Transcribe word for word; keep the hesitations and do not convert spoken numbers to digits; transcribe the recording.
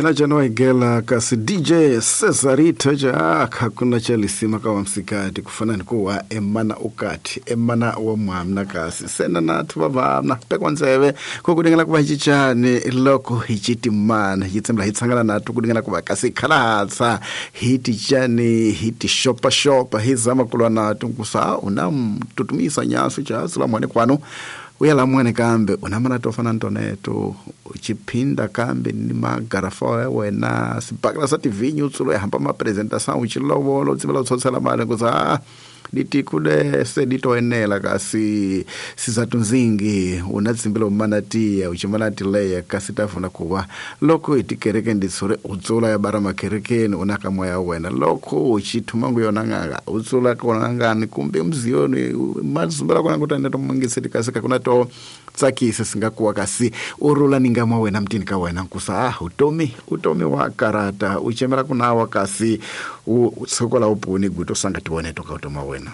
Na jano igela kasi D J Cesarito ja hakuna cha lisima ka msikati kufana nikuwa emana ukati emana wa mwamna kasi sena na tubabamna pekwanzeve kokudingela kuba hichichane loko hichitimana hitsembla hitsangana na tukudingela kuba kasi khalatsa hitichane hitishopa shopa hizama kulwa na tunkusa unamtutumisa nyasu cha sula mwane kwano uyala mwane kambe unamana tofana ntoneto uchipinda kambe ni magarafa wena sipakala sa tivinyu tsulo ya hamba ma presentation uchilovolo tsibela tsotsela mali kuza ditikule seditoenela kasi sizatunzingi unatsimbela umanatia uchimanatileya kasi tafuna kuwa loko itikereke nditsure utsula ya bara makerekeni unaka moya wena loko uchithumangu yona nganga utsula kona ngani kumbe mziyoni mazumbela kona kutanda tomungiseti kasi kakuna to tsakise singakuwa kasi urula ningamwa wena mtini ka wena nkusa ah utomi utomi wa karata uchemera kunawa kasi utsokola upuni guto sanga tione toka utoma wena.